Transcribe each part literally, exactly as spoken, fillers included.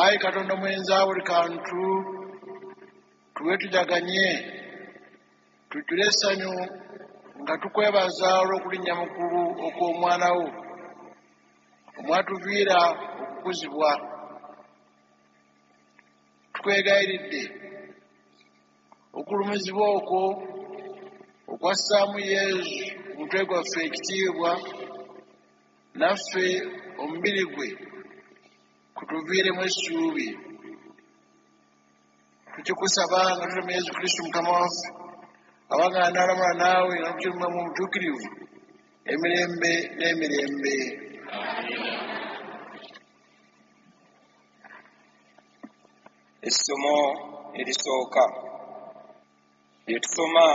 Ayi Katonda mwenza buli kantu, tuwe tujaganye, tujjule essanyu nga tukwebaza olw'okulinnya mu ggulu okw'Omwana wo, omwatuviira okukuzibwa. Tukwegayiridde okulumizibwa okwo okwassaamu Yezu omutwe gwaffe ekitiibwa, naffe omubiri gwe kutuviiremu essuubi. Tukikusaba nga tutuma Yezu Kristu Mukama waffe, abaganda n'alamula naawe nga n'okukirumbwa mu butuukirivu emirembe n'emirembe. Essomo erisooka lye tusoma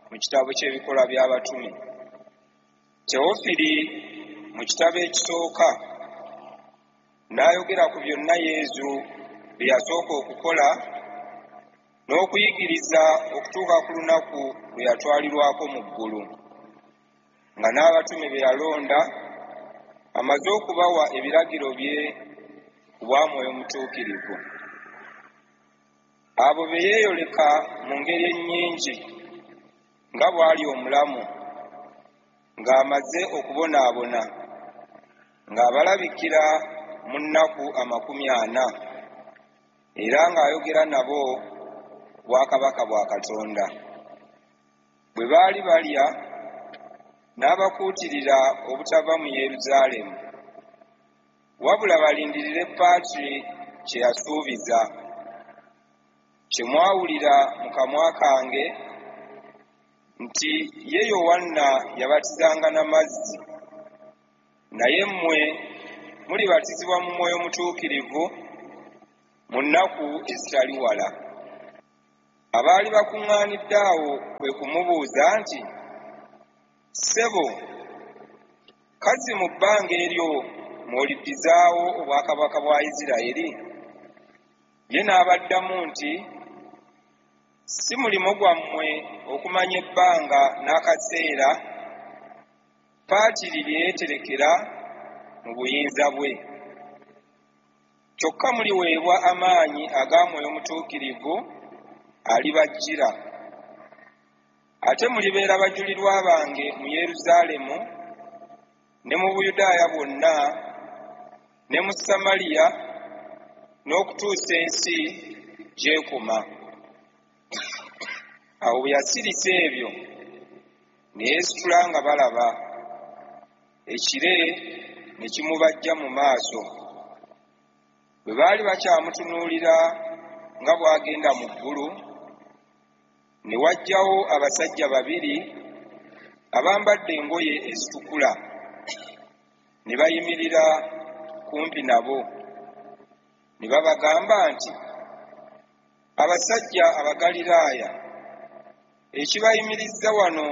mu kitabo ky'Ebikolwa by'Abatume. Teofili mu kitabo ekisooka n'ayogera ku byonna Yezu bye yasooka okukola n'okuyigiriza okutuuka ku lunaku lwe yatwalirwako mu ggulu, nga n'abatume be yalonda amaze okubawa ebiragiro bye ku bwa Mwoyo Mutuukirivu. Abo be yeeyoleka mu ngeri ennyingi nga bw'ali omulamu, ng'amaze okubonaabona, ng'abalabikira mu nnaku amakumi ana, era ng'ayogera nabo ku bwakabaka bwa Katonda. Bwe baali balya, n'abakuutirira obutava mu Yeruzaalemu, wabula balindirire Patri kye yasuubiza, kye mwawulira mu kamwa kange, nti ye Yowanna yabatizanga na mazzi, naye mmwe mulibatizibwa mu Mwoyo Mutuukirivu mu nnaku ezitali wala. Abaali bakuŋŋaanidde awo kwe kumubuuza nti, Ssebo, kazzi mu bbanga eryo mw'oliddizaawo obwakabaka bwa Yisirayeli? Ye n'abaddamu nti, Si mulimo gwammwe okumanya ebbanga n'akaseera Patiri lye yeeterekera mu buyinza bwe. Kyokka muliweebwa amaanyi aga Mwoyo Mutuukirivu alibajjira, ate mulibeera bajulirwa bange mu Yeruzaalemu ne mu Buyudaaya bwonna ne mu Samaliya n'okutuusa ensi gy'ekoma. Awo bwe yasirisa ebyo ne yeesitula nga balaba, ekire ne kimubajja mu maaso. Bwe baali bakyamutunuulira nga bw'agenda mu ggulu, ne wajjawo abasajja babiri abambadde engoye ezitukula, ne bayimirira kumpi nabo, ne babagamba nti, Abasajja Abagaliraaya, ekibayimirizza wano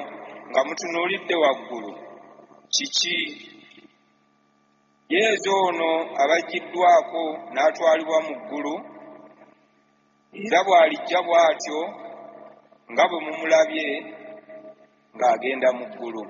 nga mutunuulidde waggulu kiki? Yezu ono abaggiddwako n'atwalibwa mu ggulu, era bw'alijja bw'atyo nga bwe mumulabye ng'agenda mu ggulu.